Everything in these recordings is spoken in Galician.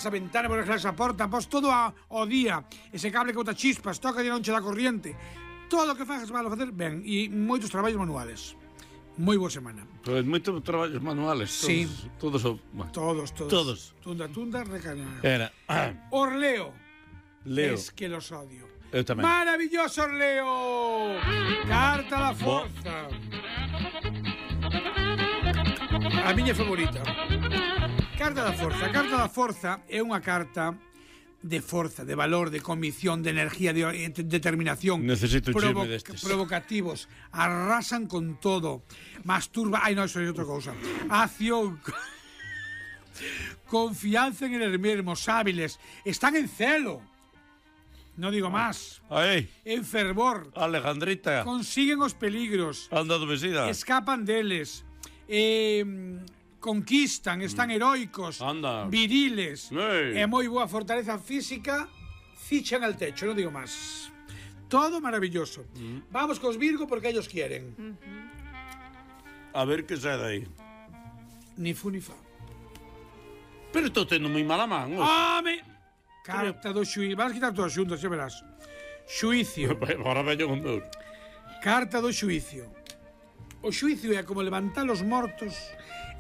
a ventana, por esa porta, pos todo ao día, ese cable que bota chispas, toca de non che da corriente, todo o que fagas malo facer ben, e moitos traballos manuales. Moi boa semana. Pois moitos traballos manuales. Sí. Todos. Todos. Tunda, recaña. Era. Orleo. Leo. Es que los odio. Eu tamén. Maravilloso Orleo. Carta da forza. A miña favorita. Carta da forza. Carta da forza é unha carta de forza, de valor, de convicción, de energía, de determinación. Necesito un chisme destes. Provocativos. Arrasan con todo. Masturba. Ai, non, iso é outra cousa. Acción. Confianza en el mesmos, hábiles. Están en celo. No digo más. Aí. En fervor. Alejandrita. Consiguen os peligros. Anda adormecida. Escapan deles. Conquistan, están heroicos. Anda. Viriles. Ei. Moi boa fortaleza física. Fichan al techo, no digo más. Todo maravilloso. Vamos cos Virgo porque ellos quieren. A ver que sai dai. Ni fu ni fa. Pero estou tendo moi mala man. ¡Home! Carta do xuicio. Vas a quitar todas xuntas, xa verás. Xuicio. Ahora veño con dor. Carta do xuicio. O xuicio é como levantar os mortos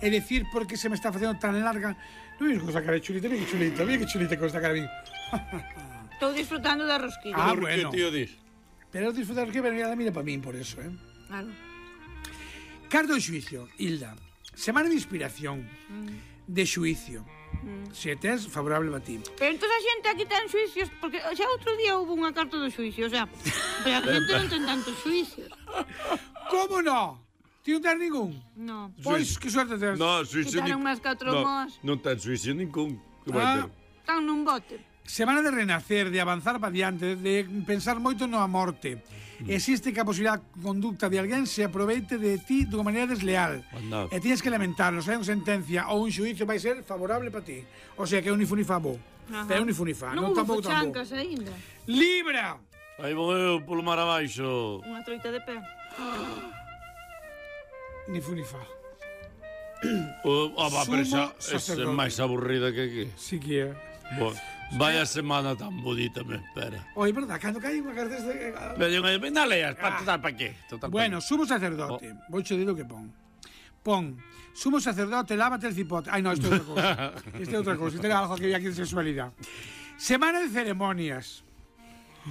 e decir por que se me está facendo tan larga. Non veis con esta cara de chulita, mira que chulita con esta cara. Estou disfrutando da rosquilla. Ah, Por bueno. que tío dis? Pero disfrutar que venía mira para min por eso, Claro. Carta do xuicio, Hilda. Semana de inspiración, de xuicio. Se tes, favorable para ti. Pero entón a xente aquí ten xuicios, porque xa outro día houve unha carta do xuicio, o sea, pero a xente non ten tantos xuicios. Como no? Ti non tens ningún? No. Pois, que suerte tes. No, suicio Quitaron máis 4 mos. Non ten suicio ningún. Que vai ter? Están nun bote. Semana de renacer, de avanzar para diante, de pensar moito na morte. Existe que a posibilidad conducta de alguén se aproveite de ti dunha maneira desleal. Anda. E tienes que lamentarlo, se hai unha sentencia ou un xuicio vai ser favorable para ti. O sea que é un ni fu ni fa bo. Pero un ni fu ni fa, Non non hubo tampouco tampouco. fochancas aínda. Libra! Aí vou eu polo mar abaixo. Unha troita de pé. Ni fu ni fa. Pero Sumo esa é sacerdote. máis aburrida que aquí. Si que é. Vaya semana tan bonita me espera. Oi, verdad, cando cae unha carta deste... Me non leas, total pa qué? Total, Bueno, sumo sacerdote. Vou che dir o que pon. Pon, sumo sacerdote, lávate el cipote. Ai, no, isto é outra cousa. Isto é outra cousa. Isto é algo que había aquí de sexualidade. Semana de ceremonias.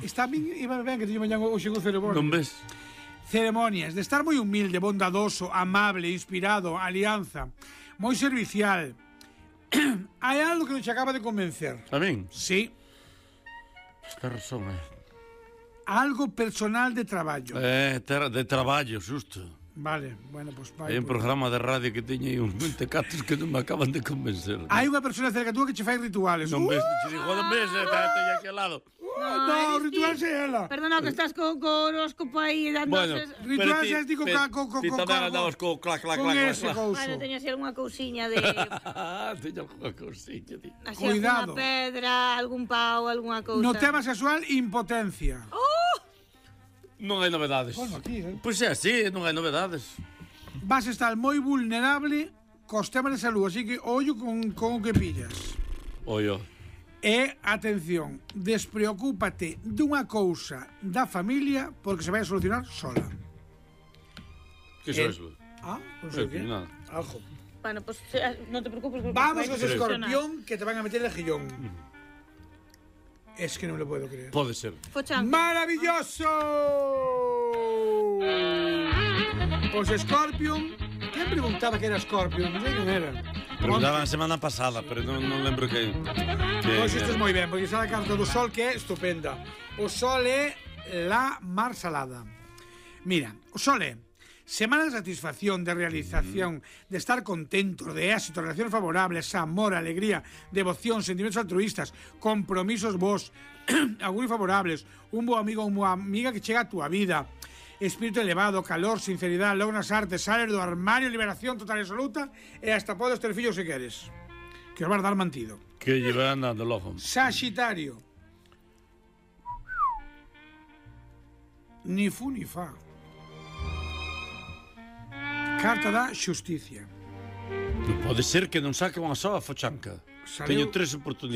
Está ben, iba ben que teño mañan hoxe con ceremonias. Non ves? Ceremonias, de estar moi humilde, bondadoso, amable, inspirado, alianza, moi servicial. Hai algo que non che acaba de convencer. A min? Sí. Ten razón, Algo personal de traballo. de traballo, xusto. Vale, bueno, pues vai. Hai un programa de radio que teña aí uns 20 catos que non me acaban de convencer. Hai unha persona cerca túa que che fai rituales. Non ves, te digo, non ves, teña aquí al lado. No, ritual é ela. Perdona, que estás co horóscopo aí dando... Bueno, Ritual é ti ti tamén andabas co clac, clac, con clac, ese clac. couso. Bueno, teño así algunha cousiña de... Teña unha cousiña, ti. Así Cuidado. alguna pedra, algún pau, algunha cousa. No tema sexual, impotencia. Non hai novedades. Bueno, aquí, Pois é así, non hai novedades. Vas a estar moi vulnerable cos temas de salud, así que ollo con o que pillas. Ollo. E, atención, despreocúpate dunha cousa da familia porque se vai a solucionar sola. Que é eso? Non sei o que. Nada. Algo. Bueno, pues non te preocupes. porque Vamos vai con ese funcionar. escorpión que te van a meter el gillón. Es que non lo puedo creer. Pode ser. Fochan. ¡Maravilloso! Pues Scorpion. ¿Quién preguntaba que era Scorpion? Non sei quen era. Preguntaban a semana pasada, pero non lembro que... Pois isto é moi ben, porque xa a carta do Sol que é estupenda. O Sol é la mar salada. Mira, o Sol é semana de satisfacción, de realización, de estar contentos, de éxito, relaciones favorables, amor, alegría, devoción, sentimientos altruistas, compromisos vos, auguros favorables, un bo amigo ou unha amiga que chega a túa vida, espírito elevado, calor, sinceridade, logras artes, sales do armario, liberación total e absoluta, e hasta podes ter fillos se queres. Que os vas dar mantido. Que llevan andando logo. Sagitario. Ni fu ni fa. Carta da xusticia. Non pode ser que non saque unha soa fochanca. Saleu- Teño 3 oportunidades.